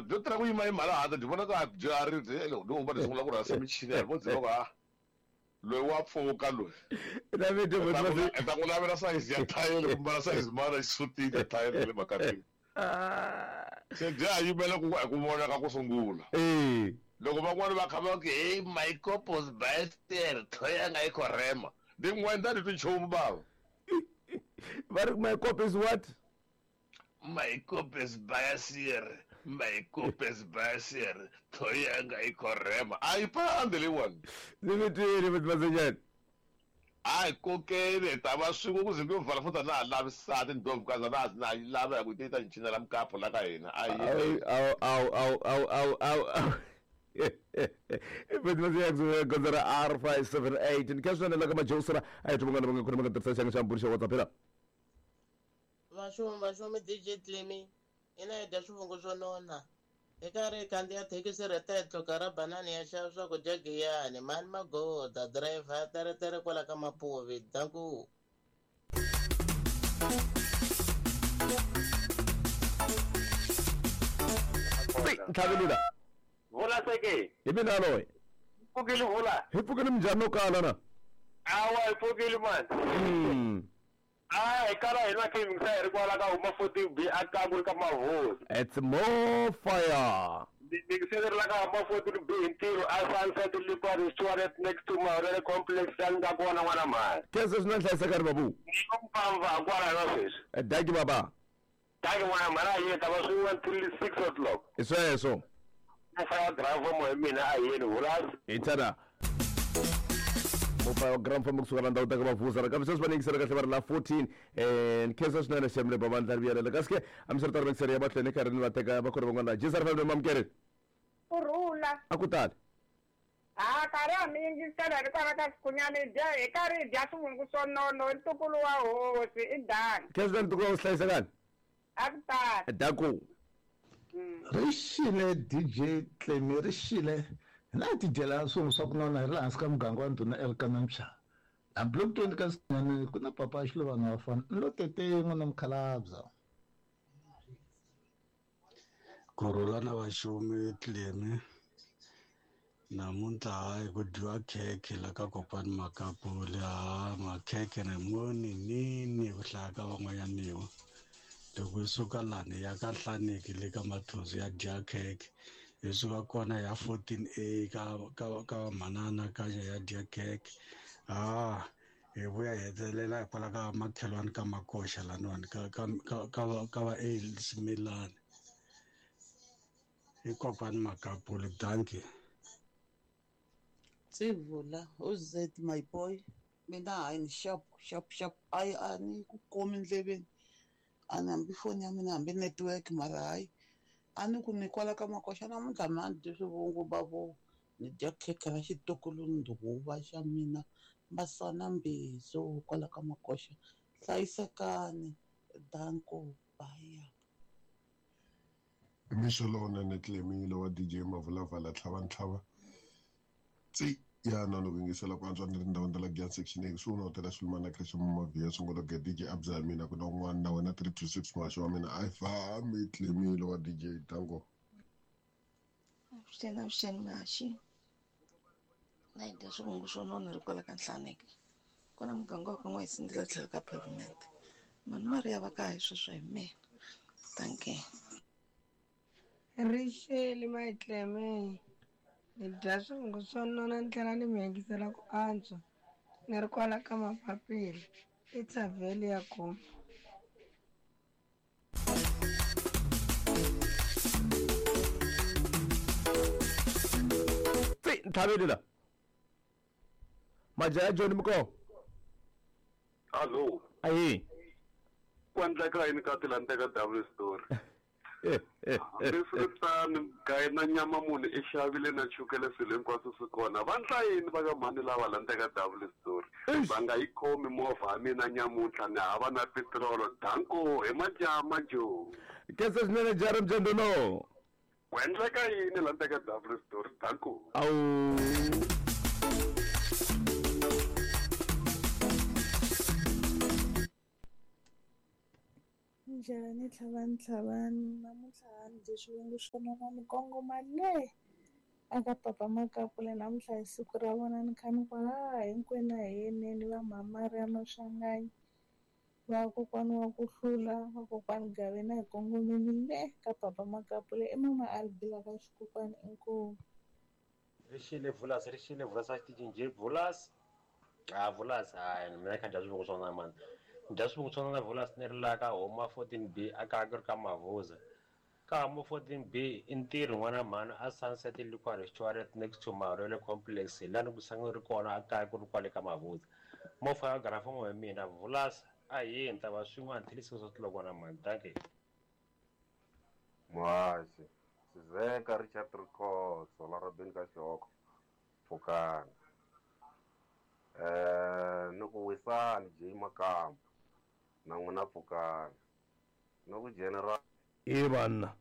byo tirha ku yima yima laha handle byi vona ka byi ri byi lo va sungula ku rhasa michini ya vo byi va loyi wa pfuka loyi ta ku lavela sayizi ya thayele ku mbala sayizi mana xisutini ya thayele le makatini se bya ha yimela ku ku vonaka ku sungula loko van'wani va kha va ku hey my copos bister thoya nga yi khorema ndi n'wenda ni twi nchumu bava va ri my cop is what my cop is biasier my cop is biasier thoya nga yi khorema a yi pandi leyiwani ni mi twile matimasenyana a hi kokeni hi ta va swin'we ku ze ku yo vala futhi a na ha lavi sati ndlovukazi a na ha na yi lava hi ku yi ta ni cinela mukapu la ka hina a yi awu awu awu awu awu awu awu fetimasiyaksuka gondzo ra R 578 ni kha swinene la ka majosera a hi thumangana va nga khona va nga tirhisa xanga xa mburi xa WhatsApp phela Vaxumi vaxumi DJ Clemy ina hi dya swivungu swo nona hi karhi hi khandziya thekisi rhetetlo ka ra banani ya xava swakudya giyani mani magoda driver ya teretere kwala ka mapuvi danku ntlhavelila vula seke hi mina loyi pfukile vula hi pfukile minjhani no kala na awa hi pfukile mani a hi kala hina khe yingisa hi ri kwala ka huma 14 B a kangu ka mahosi it's more fire yingiseleri la ka huma 14 B hi ntirho a Sunset Liquor Restaurant next to Mahorele Complex ya nga kona n'wana mhani khensa swinene hlayisekani babu ni mpamva kwala na sweswi daki baba daki n'wana mhani a yeni ta va swin'we until 6 o'clock hi sweswo mufaya driver mo hi mina a yeni vulasi hi tana mufaya wa grand famba kusuka la ndhawu ta ka mavuza kambe sweswi va ni yingisela kahle va ri la 14 ni khensa swinene xemle bavandla ri vuyelela kasi ke a mi swi ri tano yingisela ya mahlweni karhi ni va teka va khona van'wana la jisar family mamukeri kurhula a ku tali ha karhi a mi yingisela ri kwala ka swikhunyana hi dya hi karhi hi dya swivungu swo nono i ntukulu wa hosi i dani khensa swinene ntukulu wa hosi hlayisekani a ku tali daku ri xile DJ Clemy ri xile hina hi tidyela swivungu swa ku nona hi ri laha hansi ka muganga wa ndhuna Elkana Mshana la block 20 ka Sinyane ku na papa Xilovana wa fana ni lo tete n'wana mukhalabya Kurhula na vaxumi Clemy namuntlha hayi ku dyiwa khekhe la ka kokwani Makapuli ha makhekhe ni moni nini ku hlaya ka van'wanyaniwa loko hi suka lani ya ka Nhlaneki le ka Mathonsi ya dya khekhe hi suka kona ya 14 A ka ka ka manana ka ya dya khekhe ha hi vuya hi hetelela hikwalaho ka makhelwani ka makoxa laniwani ka ka ka ka ka va A Ximilani hi kokwani Makapuli dankie Tsivula who's that my boy mina hayi ni sharp sharp sharp ayi a ni ku komi ndleveni a ni hambi foni ya mina hambi network mara hayi a ni ku ni kwala ka makoxa namuntlha mina ni dyi swivungu bavo ni dya khekhe ra xitokolo ndhuva xa mina masana mbizo kwala ka makoxa hlayisekani danko baya mixo lowunene Clemy wa DJ Mavulavala tlhava ntlhava tsi ya na loko yingisela ku antswa ni ri ndhawini ta la Giyani section A kusuhi na hotela Sulemana Creche Mavhiya sungula ge DJ Abza ya mina ku na un'wana na wena 326 muhaxi wa mina a yi fambi Clemy wa DJ Tango Avuxeni avuxeni muhaxi na hi dya swivungu swo nona ri kwala ka Nhlaneki kona muganga wa ka N'wayisindzile tlhelo ka pavement mani Mariya va ka hi sweswo hi mina dankie Ri xele mayitleme ni dya swivungu swo nona ni tlhela ni mi yingisela ku antswa ni ri kwala ka mapapila i thavheli ya koma tsi ntlhavelila majaha John Mko Hello ayi ku endleka yini ka tilandeka double story hambiswiritano gayi na nyama munhu i xavile na chukele swilo hinkwaswo swi kona va ndla yini va ka mhani lava landzeka double story va nga yi khomi movha ya mina nyamuntlha ni hava na petirolo danko hi majama jo khensa swinene jara mjandolo ku endleka yini landzeka double story danko awu Njhani tlhavani tlhavani namuntlha ni dye swivungu swo nona ni kongoma le aka papa Makapula namuntlha hi siku ra vona ni kha ni ku ha hinkwenu a hi yeneni va Mhamari ya Maswanganyi va kokwani wa ku hlula va kokwani Gaveni a hi kongomeni le ka papa Makapula i mama Albila ka xikokwani inkomu. Ri xile Vulas, ri xile Vulas a xitichini njhe Vulas. Ah Vulas, hayi mina kha dya swivungu swa nona mani. Ni dya swivungu swa nona Vulas ni ri laha ka Homa 14B a kaya ku ri ka Mavuza. Ka Homa 14B i ntirho n'wana mhani a Sunset Liquor Restaurant next to Marwele Complex hi laha ni ku sangu ri kona a kaya ku ri kwale ka Mavuza. Movha ya garafomo hi mina Vulas a hi ni ta va swin'we until 6 o'clock n'wana mhani. Dankie. Muhaxi Sizeka Richard Rikhotso la Robin ka Xihoko Pfukani ni ku wisani J Makamba na n'wina Pfukani ni ku general E banna.